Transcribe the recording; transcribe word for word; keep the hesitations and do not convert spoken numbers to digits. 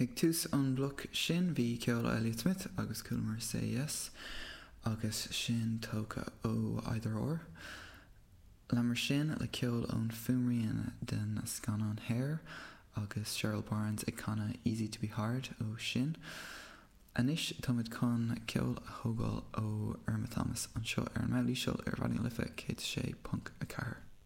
Ag tús an bloc sin bhí ceol Elliott Smith agus chualamar Say Yes agus sin tógtha ó Either Or. Leanamar sin le ceol ón fuaimrian den scannán Hair agus Cheryl Barnes ag canadh Easy to be Hard ó sin. Anois táimid chun ceol a thógáil ó Irma Thomas anseo ar an Íseal ar Raidió Life céad sé ponc a ceathair.